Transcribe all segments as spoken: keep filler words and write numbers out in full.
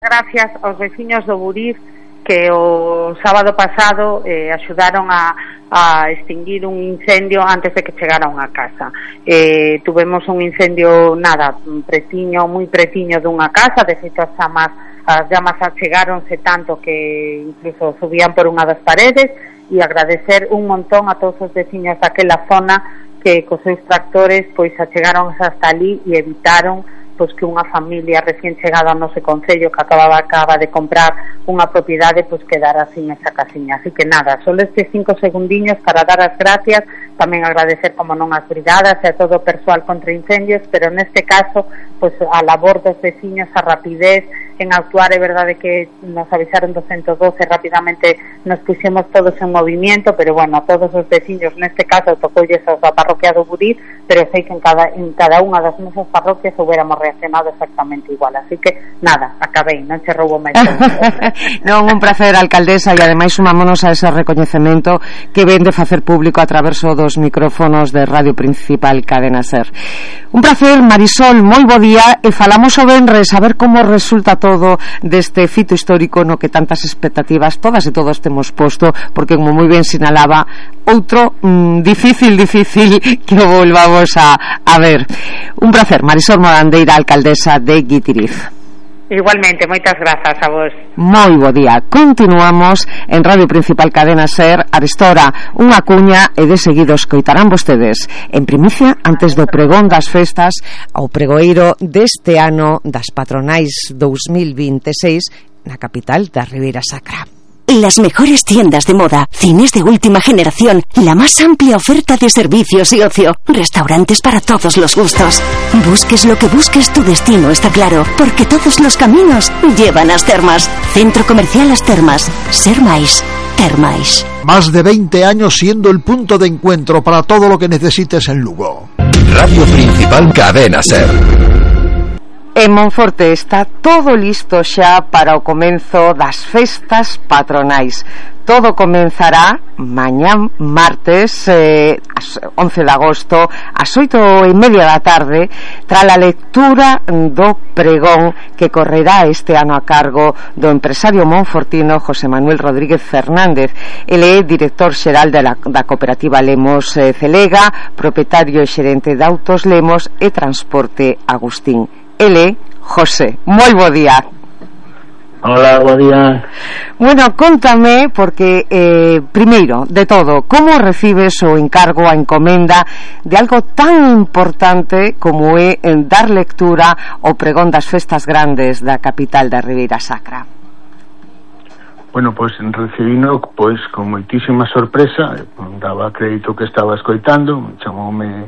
Gracias aos veciños do Buriz que o sábado pasado eh, axudaron a, a extinguir un incendio antes de que chegara a unha casa. Eh, tuvemos un incendio, nada, pretiño, moi pretiño dunha casa, de feito as chamas, as llamas achegáronse tanto que incluso subían por unha das paredes, e agradecer un montón a todos os veciños daquela zona que cos seus tractores pois achegaron hasta ali e evitaron pois que unha familia recién chegada ao noso concello que acababa acaba de comprar unha propiedade pois quedara sin esa casiña. Así que nada, só estes cinco segundiños para dar as gracias, tamén agradecer como non as brigadas e a todo o persoal contra incendios, pero neste caso pois a labor dos veciños, a rapidez en actuar. É verdade que nos avisaron do ciento doce, rapidamente nos puxemos todos en movimiento, pero bueno, a todos os veciños, neste caso tocoulles aos da parroquia do Buriz, pero sei que en cada, en cada unha das nosas parroquias hubiéramos reaccionado exactamente igual, así que nada, acabei, non che roubo máis. Non, un prazer, alcaldesa, e ademais sumámonos a ese recoñecemento que ven de facer público a través dos micrófonos de Radio Principal Cadena Ser. Un prazer, Marisol, moi bo día, e falamos o venres a ver como resulta todo deste fito histórico no que tantas expectativas todas e todos temos posto, porque como moi ben sinalaba, outro mmm, difícil, difícil que o volvamos a, a ver. Un prazer, Marisol Morandeira, alcaldesa de Guitiriz. Igualmente, moitas grazas a vos. Moi bo día. Continuamos en Radio Principal Cadena Ser. Arestora unha cuña e de seguido escoitarán vostedes en primicia antes do pregón das festas ao pregoeiro deste ano das patronais dos mil veintiséis na capital da Ribeira Sacra. Las mejores tiendas de moda, cines de última generación, la más amplia oferta de servicios y ocio, restaurantes para todos los gustos. Busques lo que busques, tu destino está claro, porque todos los caminos llevan a As Termas. Centro Comercial As Termas. Ser máis, ter máis. Más de veinte años siendo el punto de encuentro para todo lo que necesites en Lugo. Radio Principal Cadena Ser. En Monforte está todo listo xa para o comenzo das festas patronais. Todo comenzará mañán martes eh, once de agosto ás oito e media da tarde tras a lectura do pregón que correrá este ano a cargo do empresario monfortino José Manuel Rodríguez Fernández. Ele é director xeral da, da cooperativa Lemos eh, Celega, propietario e xerente de Autos Lemos e Transporte Agustín. Ele, José, moi bo día. Hola, bo día. Bueno, contame, porque eh, primeiro de todo, como recibes o encargo, a encomenda de algo tan importante como é en dar lectura ao pregón das festas grandes da capital da Ribeira Sacra? Bueno, pois pues, recibino pois con moitísima sorpresa, daba crédito que estaba escoitando, chamoume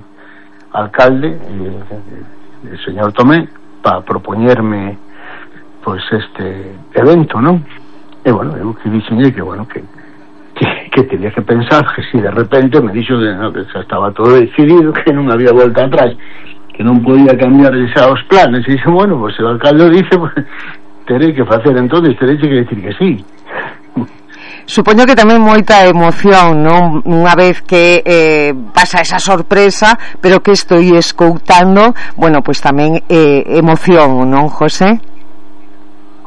alcalde, eh, el señor Tomé, para propoñerme pois este evento, non? E bueno, eu que dixenlle que bueno, que, que que tenía que pensar, que si de repente me dixo que, no, que xa estaba todo decidido, que non había volta atrás, que non podía cambiar xa os planes, e dixe, bueno, pois pues, o alcalde dice, pues, terei que facer entonces, terei que decir que sí. Supoño que tamén moita emoción, non? Unha vez que eh, pasa esa sorpresa, pero que estou escoutando, bueno, pois pues tamén eh, emoción, non, José?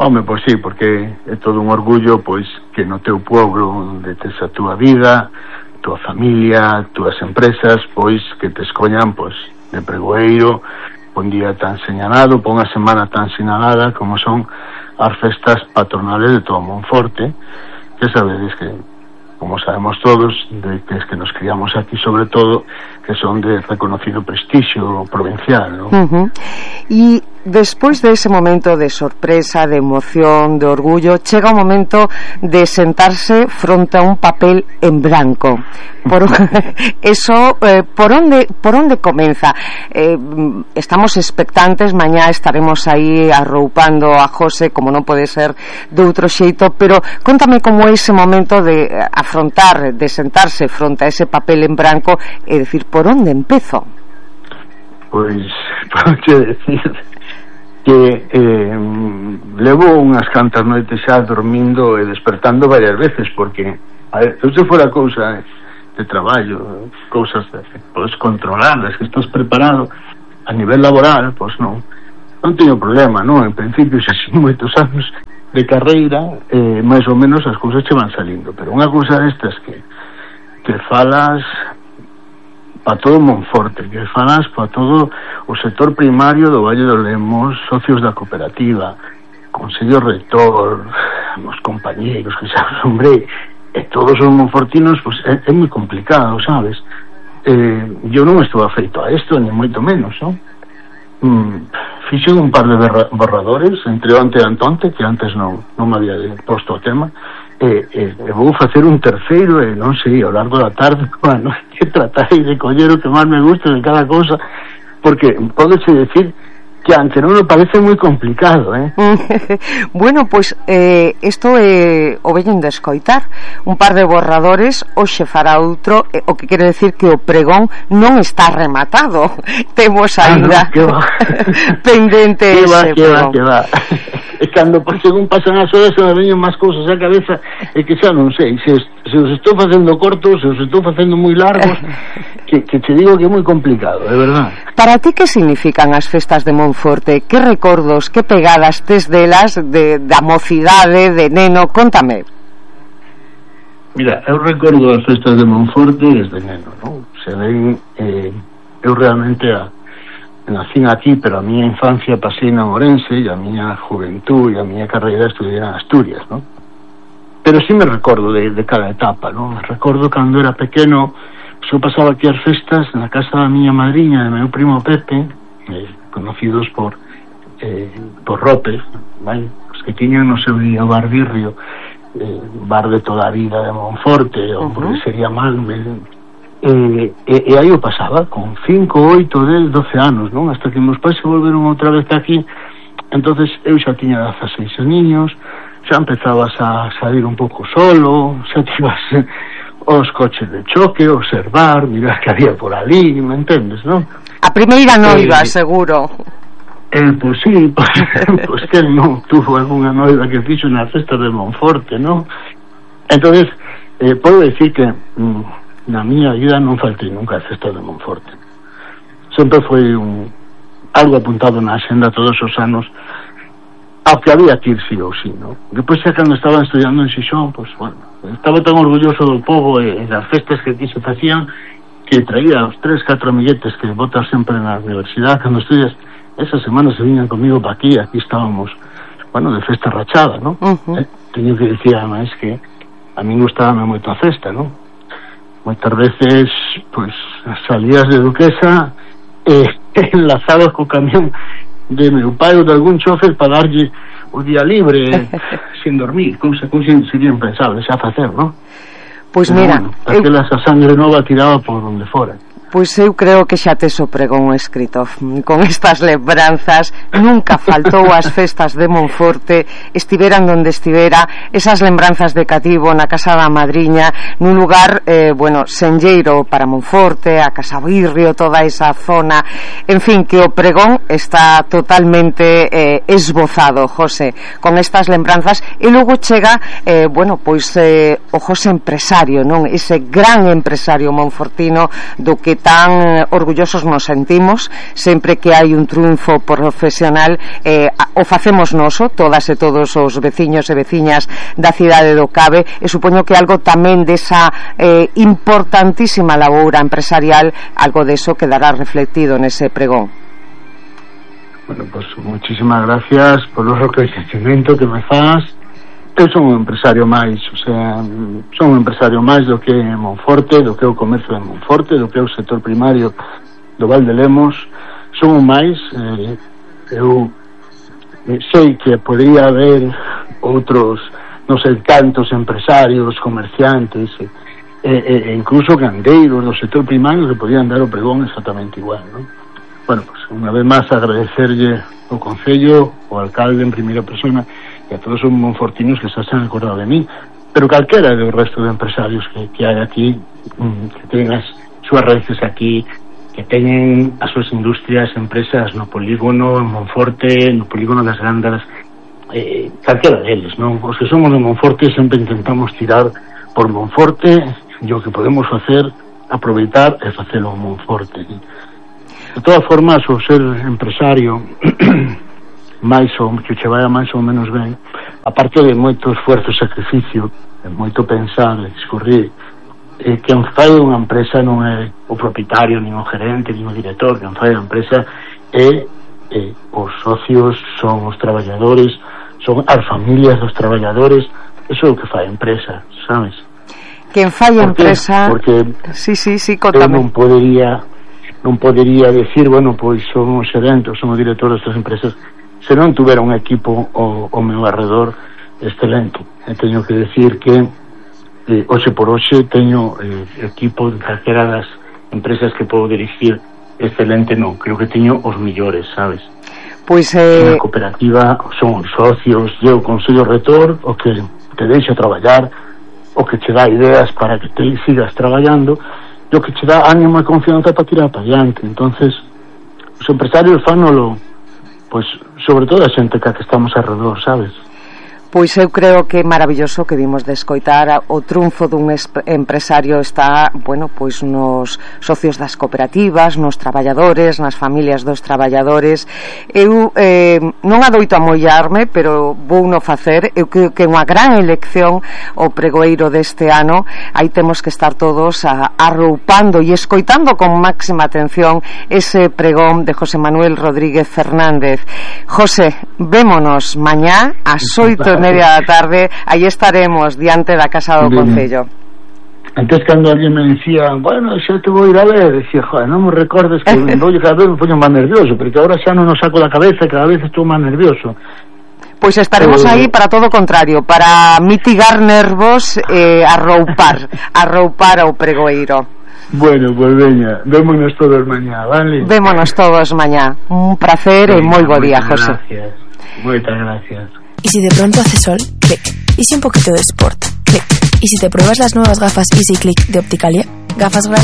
Home, pois sí, porque é todo un orgullo, pois, que no teu pueblo de tes a túa vida, a túa familia, as túas empresas, pois, que te escollan, pois, de pregoeiro, un día tan señalado, por unha semana tan sinalada como son as festas patronales de todo Monforte, que sabedes que, como sabemos todos, de que es que nos criamos aquí sobre todo, que son de reconocido prestixio provincial, ¿no? Uh-huh. E despois de ese momento de sorpresa, de emoción, de orgullo, chega o momento de sentarse fronte a un papel en blanco. Por eso, eh, por onde por onde comeza? Eh, estamos expectantes, mañá estaremos aí arroupando a José, como non pode ser de outro xeito, pero contame como é ese momento de afrontar, de sentarse fronte a ese papel en branco e decir, por onde empezo? Pois, podo decir que eh, levo unhas cantas noites xa dormindo e despertando varias veces, porque a ver, se fora cousa de traballo, cousas de, podes controladas, que estás preparado a nivel laboral, pois non, non teño problema, non? En principio, xa sin moitos anos de carreira, eh, máis ou menos as cousas che van salindo, pero unha cousa destas que que falas para todo Monforte, que falas para todo o sector primario do Valle do Lemos, socios da cooperativa, Consello Rector, os compañeiros, que sabes, hombre, e todos os monfortinos, pues é, é moi complicado, sabes? Eh, eu non estou afeito a isto, ni moito menos, non? Mm, fixe un par de borradores entre onte e antonte, que antes non, non me había posto o tema, e, e, e vou facer un terceiro, e non sei, ao largo da tarde, bueno, que tratarei de coller o que máis me guste de cada cousa, porque pódese decir que aunque non me parece moi complicado, eh? Bueno, pois pues, eh, isto é eh, o veñen de escoitar un par de borradores, hoxe fará outro, eh, o que quere decir que o pregón non está rematado. Temos ainda ah, no, pendente que ese va, que va, que va. E cando por según pasan as horas se me veñen máis cousas á cabeza, e que xa non sei se, se os estou facendo cortos, se os estou facendo moi largos, que, que te digo que é moi complicado, de verdad. Para ti que significan as festas de Monforte? Que recordos, que pegadas tes delas de, da mocidade, de neno? Contame. Mira, eu recordo as festas de Monforte desde neno, non? Se ven, eh, eu realmente a nacín aquí, pero a miña infancia pasei na Ourense, e a miña juventud e a miña carreira estudiei en Asturias, non? Pero sí me recordo de, de cada etapa, non? Me recordo cando era pequeno, eu pasaba aquí as festas na casa da miña madriña, de meu primo Pepe, eh, conocidos por eh, por Rope, vale? Os que tiñan no seu día o bar Birrio, eh, bar de toda a vida de Monforte, ou uh -huh. porque sería mal, me... E, e, e aí o pasaba con cinco, oito, dez, doce anos, non? Hasta que meus pais se volveron outra vez aquí. Entonces eu xa tiña dezaseis aninhos, xa empezabas a salir un pouco solo, xa te ibas os coches de choque, observar, mirar que había por ali, me entendes, non? A primeira noiva, eh, seguro. Eh, pois pues sí, pois pues, pues que non tuvo algunha noiva que fixo na festa de Monforte, non? Entonces, eh, podo decir que mm, na miña vida non faltei nunca a festa de Monforte. Sempre foi un, algo apuntado na axenda todos os anos, ao que había que ir sí ou sí, non? Depois xa cando estaba estudiando en Xixón, pois, pues, bueno, estaba tan orgulloso do povo e, e das festas que aquí se facían, que traía os tres, catro amiguetes que botas sempre na universidade cando estudias. Esas semanas se viñan comigo pa aquí, aquí estábamos, bueno, de festa rachada, non? Uh -huh. eh, teño que dicir, ademais, que a mí gustábame moito a festa, non? Moitas veces, pois, salías de Duquesa e eh, enlazados co camión de meu pai ou de algún chofer para darlle o día libre sin dormir, cousa cousa sería impensable xa facer, non? Pois mira, bueno, aquelas eu... a sangre nova tiraba por onde fora. Pois eu creo que xa tes o pregón escrito. Con estas lembranzas nunca faltou as festas de Monforte, estiveran donde estivera, esas lembranzas de cativo na casa da madriña, nun lugar, eh, bueno, senlleiro para Monforte, a Casa Birrio, toda esa zona, en fin, que o pregón está totalmente eh, esbozado, José, con estas lembranzas, e logo chega, eh, bueno, pois eh, o José empresario, non? Ese gran empresario monfortino do que tan orgullosos nos sentimos sempre que hai un triunfo profesional, eh, o facemos noso, todas e todos os veciños e veciñas da cidade do Cabe, e supoño que algo tamén desa eh, importantísima laboura empresarial, algo deso quedará reflectido nese pregón. Bueno, pues muchísimas gracias por o reconhecimento que me faz. Eu son un empresario máis, o sea, son un empresario máis do que é Monforte, do que é o comercio de Monforte, do que é o sector primario do Val de Lemos. Son un máis, eh, eu sei que podría haber outros, non sei, tantos empresarios, comerciantes, e, e, e incluso gandeiros do sector primario que podían dar o pregón exactamente igual, non? Bueno, pues unha vez máis agradecerlle ao Concello, ao alcalde en primeira persona, e a todos os monfortinos que se han acordado de mí, pero calquera do resto de empresarios que, que hai aquí, que teñen as súas raíces aquí, que teñen as súas industrias, empresas no polígono, en Monforte, no polígono das Gándaras, eh, calquera deles, non? Os que somos de Monforte sempre intentamos tirar por Monforte, e o que podemos facer, aproveitar e facelo en Monforte. De todas formas, o ser empresario máis ou que che vai a máis ou menos ben, aparte de moito esforzo e sacrificio, de moito pensar, discurrir, eh, quen fai unha empresa non é o propietario, nin o gerente, nin o director, quen fai a empresa é eh, os socios, son os traballadores, son as familias dos traballadores. Eso é o que fai a empresa, sabes? Quen fai a empresa... Porque sí, sí, sí, eu non podería non podería decir, bueno, pois son os xerentes, son o director destas empresas, se non tuvera un equipo ao, ao meu arredor excelente. E teño que decir que eh, hoxe por hoxe teño eh, equipo de calquera das empresas que podo dirigir excelente, non, creo que teño os millores, sabes? Pois eh... na cooperativa son os socios, e o consello rector o que te deixa traballar, o que te dá ideas para que te sigas traballando, e o que te dá ánimo e confianza para tirar para adiante. Entonces os empresarios fanolo, pois sobre todo a xente que estamos alrededor, sabes? Pois eu creo que é maravilloso que vimos de escoitar o triunfo dun empresario está, bueno, pois nos socios das cooperativas, nos traballadores, nas familias dos traballadores. Eu eh, non adoito a mollarme, pero vou no facer. Eu creo que é unha gran elección o pregoeiro deste ano. Aí temos que estar todos a, arroupando e escoitando con máxima atención ese pregón de José Manuel Rodríguez Fernández. José, vémonos mañá ás oito e media da tarde, aí estaremos diante da Casa do Concello. Antes, cando alguén me decía, bueno, xa te vou ir a ver, decía, joder, non me recordes que vou cada vez me poño máis nervioso, porque agora xa non o saco da cabeza, cada vez estou máis nervioso. Pois estaremos eh... aí para todo o contrario, para mitigar nervos e eh, arroupar, arroupar ao pregoeiro. Bueno, pues veña, vémonos todos mañá, vale? Vémonos todos mañá. Un placer e moi bo día, José. Gracias, moitas gracias. Y si de pronto hace sol, clic. Y si un poquito de sport, clic. Y si te pruebas las nuevas gafas Easy Click de Opticalia, gafas gratis